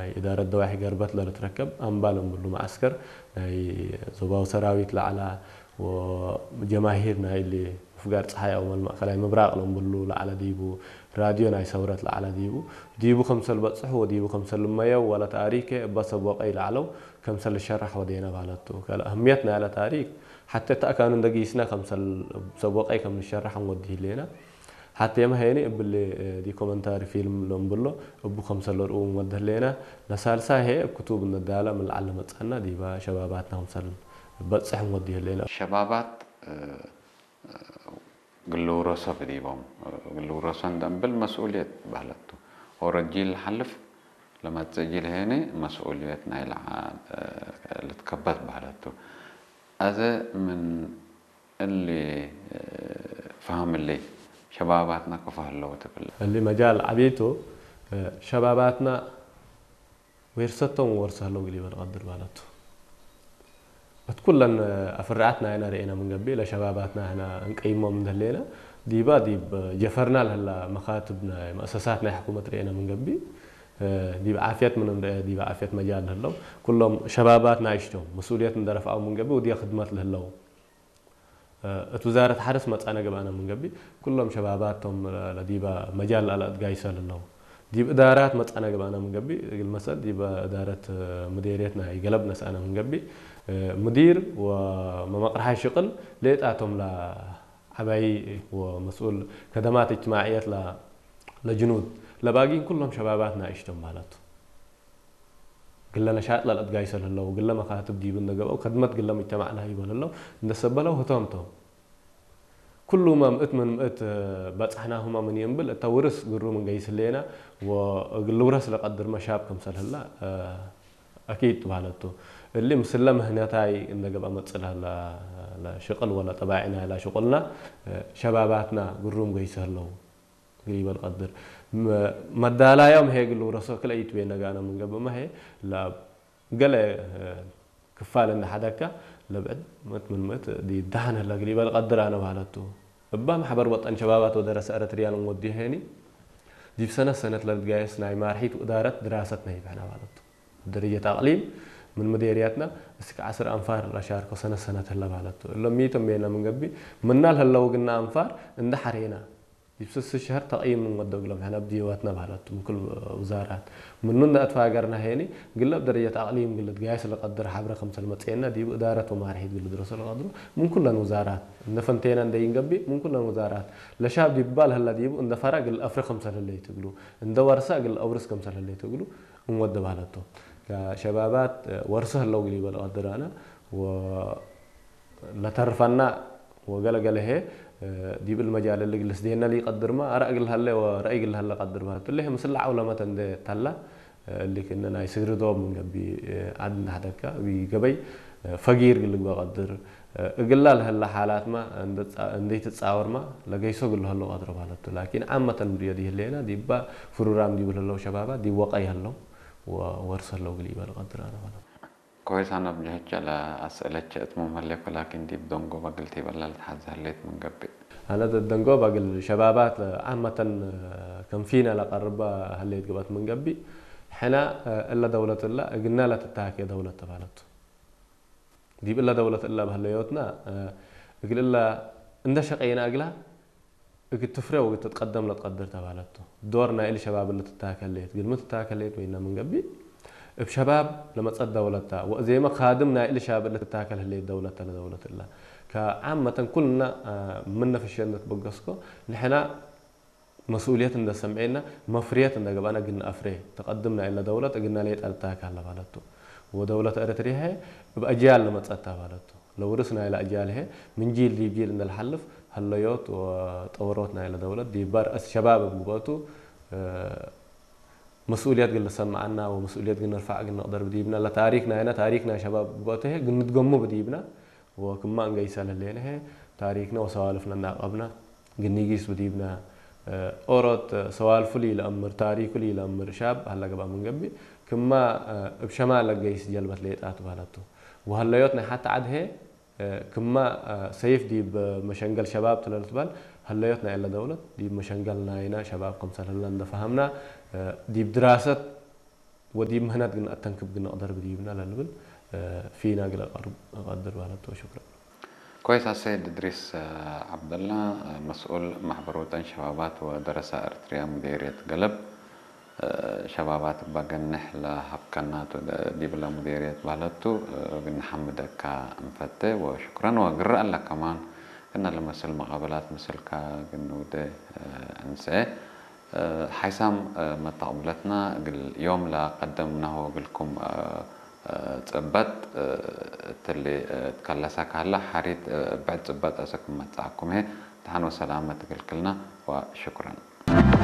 ናይ እዳረት ደዋሒ ገርበት ለልትረከብ ኣምባ ለምብሉ መዓስከር ናይ ዞባዊ ሰራዊት ላዕላ ወጀማሂር ናይ ሊ ምፍጋር ፀሓይ ኣው ማእከላይ ምብራቕ ለምብሉ ላዕላ ዲቡ ራድዮ ናይ ሰውረት ላዕላ ዲቡ ዲቡ ከምሰል በፅሕ ወዲቡ ከምሰል መየው ወላ ታሪከ እባ ሰቦቀይ ላዕለው ከምሰል ሸራሕ ወዴና ባለቱ ከለ ኣህምየት ናይ ለ ታሪክ ሓተ ተኣካኑ እንደጊስና ከምሰል ሰቦቀይ ከም ንሸራሕ ንወዲ ህሌና ሓቴመ ሄኒ እብሊ ዲኮመንታሪ ፊልም ለምብሎ እቡ ከምሰለ ርኡ መድህሌና ለሳልሳ ሄ እብ ክቱብ ነዳላ ምልዓል ለመጻና ዲባ ሸባባትና ከምሰል በጽሕ ንወዲ ህሌና። ሸባባት ግልውረሶ ብዲቦም ግልውረሶ እንደንብል መስኡልየት ባህለቱ ኦረድ ጂል ሓልፍ ለመጽእ ጂል ሄኒ መስኡልየት ናይ ልዓ ልትከበት ባህለቱ ኣዘ ምን እሊ ፈሃምሊ ሸባባትና ከፈህለው ትብል። እሊ መጃል ዓቢቱ ሸባባትና ወርሰቶም ወርሰ ህለው ግሊበ ንቐድር ማለቱ። እት ኩለን ኣፍርዓትና ኢና ርኤና ምንገቢ ለሸባባትና ህና እንቀይሞም እንደሌና ዲባ ዲብ ጀፈርና ለህላ መኻትብ ናይ መእሰሳት ናይ ሕኩመት ርኤና ምንገቢ ዲብ ዓፍየት ምን እንደ ዲብ ዓፍየት መጃል ለህለው ኩሎም ሸባባት ናይሽቶም መስኡልየት እንደረፍኣው ምንገቢ ውዲያ ክድመት ለህለው እት ውዛረት ሓርስ መጻነ ገብኣና ምንገቢ ኩሎም ሸባባት ቶም ለዲባ መጃል ኣለ እትጋይሰ ለለው ዲብ እዳራት መጻነ ገብኣና ምንገቢ እግል መሰል ዲብ እዳረት ምዴርየት ናይ ገለብ ነስኣና ምንገቢ ምዲር ወመመቅርሓይ ሽቅል ሌጣቶም ለዓባይ ወመስኡል ከደማት እጅትማዕየት ለጅኑድ ለባጊን ኩሎም ሸባባት ናይሽቶም ማለቱ። ግለ ነሻጥ ለልአትጋይሰ ለህለው ግለ መካትብ ዲብ እንደገብአው ከድመት ግለ ሙጅተማዕና ሂበ ለህለው እንደሰበለው ህቶም ቶም። ኩሉመ ምእት ምን ምእት በጽሕናሁመ ምን ይእምብል እተ ውርስ ግሩም እንገይስ ህሌና ወእግል ልውረስ ለቀድርመ ሻብ ከምሰል ህላ አኪድ ትባለቱ። እሊ ምስለ ምህነታይ እንደገብአ መጽእ ለህላ ለሽቅል ወለ ጠባዒና ኢላ ሽቁልና ሸባባትና ግሩም ገይሰ ህለው። ግሪበል ቀድር መዳላዮም ሄ ግሉ ረሶ ክለ ይትቤ ነጋና ምንገብ መሄ ለብ ገለ ክፋል እንደ ሓደካ ለብዕድ ምእት ምን ምእት ዲ ዳህን ህለ ግሪበል ቀድር ኣነ ባለቱ እባ ማሕበር ወጠን ሸባባት ወደረሰ ኤረትርያን ወዲ ሄኒ ዲብ ሰነት ሰነት ለልትጋየስ ናይ ማርሒት ወእዳረት ድራሰት ነሂብሕና ባለቱ ደረጀት ኣቅሊም ምን ምዴርያትና እስከ ዓስር ኣንፋር ለሻርኮ ሰነት ሰነት ህለ ባለቱ እሎም ሚቶም ቤና ምንገቢ ምናል ህለው ግና ኣንፋር እንደ ሓሬና ዲብ ስስ ሸህር ተቕይም ንወደግሎም ሕነ ብድየወትና ባህለቱ ምክል ውዛራት ምኑ እንደ ኣትፋገርና ሄኒ ግለብ ደረጀት ኣቕሊም ግልት ጋይስ ለቀድር ሓብረ ከምሰል መጽኤና ዲብ እዳረት ወማርሒት ግልት ረሶ ለቀድሩ ምን ኩለን ውዛራት እንደ ፈንቴና እንደ ይንገቢ ምን ኩለን ውዛራት ለሻብ ዲባል ህላ ዲቡ እንደ ፈራ ግል ኣፍሪ ከምሰል ህለ ይትግሉ እንደ ወርሳ ግል ኣውርስ ከምሰል ህለ ይትግሉ እንወደ ባህለቱ ሸባባት ወርስ ህለው ግል ይበል ቀድራና ለተርፈና ወገለገለ ሄ ዲብል መጃል እሊ ግልስ ዴና ሊ ቀድርማ ኣራእ ግል ሀለ ወረአይ ግል ሀለ ቀድርማ ትልህ ምስላ ዓውለመተ እንደ ተላ እሊ ክነ ናይ ስግሪ ዶብ ምን ገቢ ዓድ እንዳሕደካ ቢ ገበይ ፈጊር ግል ግበ ቀድር እግላ ለሀለ ሓላትማ እንደይ ትጻወርማ ለገይሶ ግል ሀሎ ቀድሮ ማለቱ ላኪን ዓመተን ብዮ ዲህሌና ዲባ ፍሩራም ዲብል ሀለው ሸባባ ዲወቀይ ሀለው ወወርስ ሀለው ግል ይበል ቀድር ኣነ ማለት ኮይስ ኣነ ብጀህቸ ለኣስእለቸ እት መመሌኮ ላኪን ዲብ ደንጎ በግል ቲበላ ልትሓዘ ህሌት ምን ገብእ። ኣነ ደንጎ በግል ሸባባት ዓመተን ከም ፊነ ለቀርበ ህሌት ግበት ምን ገብእ። ሕነ እለ ደውለት እለ እግነ ለትታኬ ደውለት ተባለቱ። ዲብ እለ ደውለት እለ በህለዮትና እግል እለ እንደ ሸቀይና እግላ እግል ትፍሬ ወእግል ትትቀደም ለትቀድር ተባለቱ። ዶር ናይ እሊ ሸባብ እለ ትታከሌት፣ ግልሚ ትታከሌት ወይና ምን ገብእ እብ ሸባብ ለመጸት ደውለታ ወእዜመ ካድም ናይ እሊ ሸባብ እለ ትታከል ህሌት ደውለተ ለደውለት እላ። ከዓመተን ኩልና ምን ነፍሸ እንደ ትበገስኮ ንሕና መስኡልየት እንደ ሰምዔና መፍርየት እንደ ገብኣና እግል ነአፍሬ። ተቀድም ናይ እለ ደውለት እግልና ሌጠ ልታከ ለባለቱ። ወደውለት ኤረትርያ እብ አጅያል ለመጸት ተባለቱ። ለውርስ ናይለ አጅያል ሄ ምን ጂል ዲብ ጂል እንደ ለሓልፍ ሀለዮት ወጠወሮት ናይለ ደውለት ዲብ ባር እት ሸባብ እብ ግበቱ መስኡልየት ግል ልሰመዐና ወመስኡልየት ግል ንርፋዕ ግል ንቅደር ብዲብና ለታሪክ ናይና ታሪክ ናይ ሸባብ እብ ግበቱ ሄ ግል ንትገሙ ብዲብና ወክማ እንገይሰ ለህሌነ ሄ ታሪክና ወሰዋልፍና እናቀብና ግል ኒጊስ ብዲብና ኦሮት ሰዋልፉ ሊ ለአምር ታሪኩ ሊ ለአምር ሻብ ሀለ ገብአ ምን ገብእ ክማ እብ ሸማል ለገይስ ጀልበት ሌጣ ትባለቱ። ወሀለዮት ናይ ሓቲ ዓድ ሄ ክማ ሰይፍ ዲብ መሸንገል ሸባብ ትለ ልትበል ሀለዮት ናይ እለ ደውለት ዲብ መሸንገል ናይና ሸባብ ከምሰል ህለ እንደ ፈሀምና ዲብ ድራሰት ወዲ ምህናት ግን ኣተንክብ ግን ኣቕደር ብድይብና ለንብል ፊና ግለ ቀርብ እቐድር ባለቶ ሽክረን። كويس السيد إدريس عبد الله مسؤول محبر وطن شبابات ودراسة إريتريا مديرية قلب شبابات بقنح لهبكنا ዲብለ ሙዴርየት ባህለቱ ግን ሓምደካ እንፈተ ወሽኩረን ወግረ ኣለ ከማን ግን ለመስል መቐበላት ምስልካ ግን ውደ እንሰ ሓይሳም መተቕብለትና ግል ዮም ለቀደምናሆ ግልኩም ጽበት ትሊ ትከለሰ ካለ ሓሪት ብዕድ ጽበት ኣሰክም መጻእኩም ሄ ተሓን ወሰላመ ትክልክልና ወሽኩረን።